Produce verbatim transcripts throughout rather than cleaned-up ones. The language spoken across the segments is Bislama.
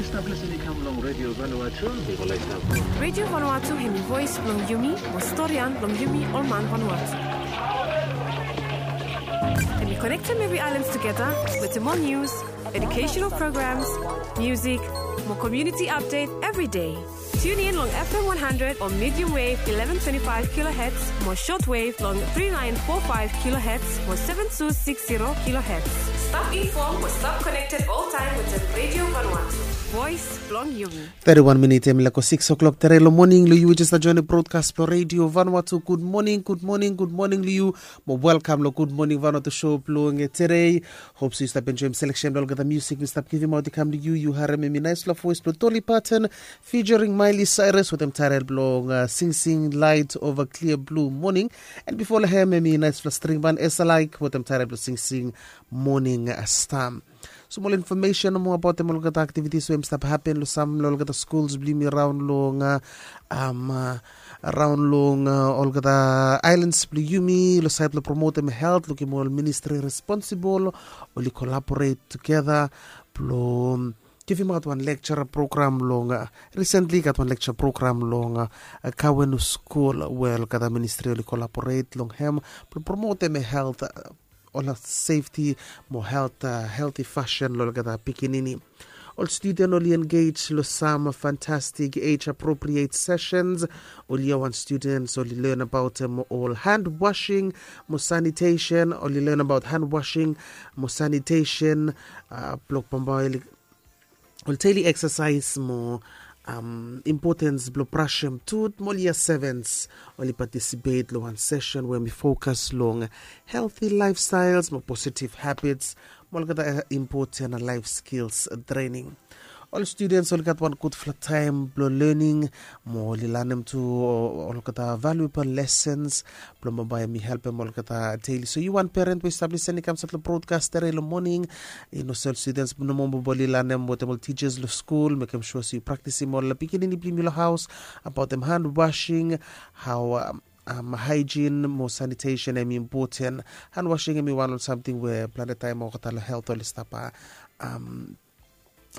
Stap lisin i kam long Radio Vanuatu. Radio Vanuatu hemi voes blong yumi, mo storian blong yumi ol man Vanuatu. Hemi konektem evri aelan tugeta wetem ol nius, educational programs, music, mo community update every day. Tune in long F M one hundred o medium wave eleven twenty-five kilohertz, mo short wave long three nine four five kilohertz, mo seven two six zero kilohertz. Stap inform mo stap connected all time wetem Radio Vanuatu. Voes blong yumi. Thirty-one minit hemi laek go six o'clock tere long moning long yu we jes joinim broadcast blong Radio Vanuatu. Good morning, good morning, good morning long yu. Mo welcome long Good Morning Vanuatu show blong tere. Hope so yu stap enjoim selection blong olgeta music mi stap givimaot i kam long yu. Yu harem hemi naesfala voes blong Dolly Parton featuring Miley Cyrus wetem taetel blong uh, Sing Sing Light Over Clear Blue Morning. And before long hem hemi naesfala string ban Esa Like wetem taetel blong Sing Sing Morning uh, Star. Smol infomesen nomo abaotem olgeta aktivitis we hemi stap hapen long sam long olgeta skuls blong yumi raon long uh, um, uh, raon long uh, olgeta aelans blong yumi long saed blong promotem health, lukim ol ministri responsibol oli kolaboret tugeta blong givimaot wan lecture program long uh, recently i gat wan lecture program long uh, uh, Kawenu skul we olgeta ministri oli kolaboret long hem blong promotem health uh, ol sefti mo health uh, healthy fashion long olgeta pikinini. Ol studen oli engage long sam fantastic age appropriate sessions. Oli ia wan students oli learn abaotem ol hand washing mo sanitation, oli learn about hand washing mo sanitation uh, blong bambae oli ol daily exercise mo um, importance blong brashem tut mo lia sevens. Oli participate long wan session we mi focus long healthy lifestyles mo positive habits mo olgeta important life skills training. Ol students oli gat wan gudfala taem blong learning mo oli lanem tu olgeta valuable lessons blong bambae mi helpem olgeta daily. So yu wan parent we stap lisin i kam sat long broadcast tere long moning, i no sel students nomo mo boli lanem wetem ol teachers long skul, mekem sua se yu praktisim ol pikinini blong yumi long haos abaotem hand washing, hao um, um, hygiene mo sanitation hemi important. Hand washing hemi wan ol samting we plante taem olgeta long health oli stap uh, um,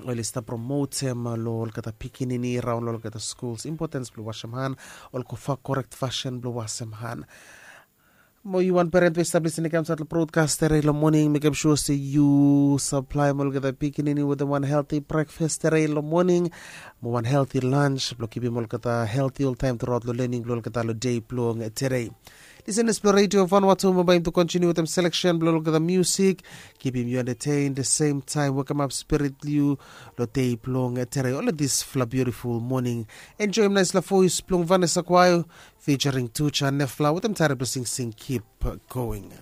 oli stap promotem long olgeta pikinini raon long olgeta skuls importance blong wasem han, ol go fa korekt fasin blong wasem han. Mo yu wan parent we stap lisin i kam sat long broadcast tere long moning, mekem sua se yu saplaem olgeta pikinini wetem wan healthy breakfast tere long moning mo wan healthy lunch blong kipim olgeta healthy oltaem truaot long learning blong olgeta long dei blong tere. Lisenas blong Radio Vanuatu, mo bae yumi tu kontiniu wetem selection blong olgeta music, kipim yu entertained, the same time wekemap spirit blong yu long dei blong tere. Ol disfala beautiful morning, enjoim naesfala voes blong Vanessa Kwayo featuring Tuja Nefla wetem taetel blong Sing Sing Keep Going.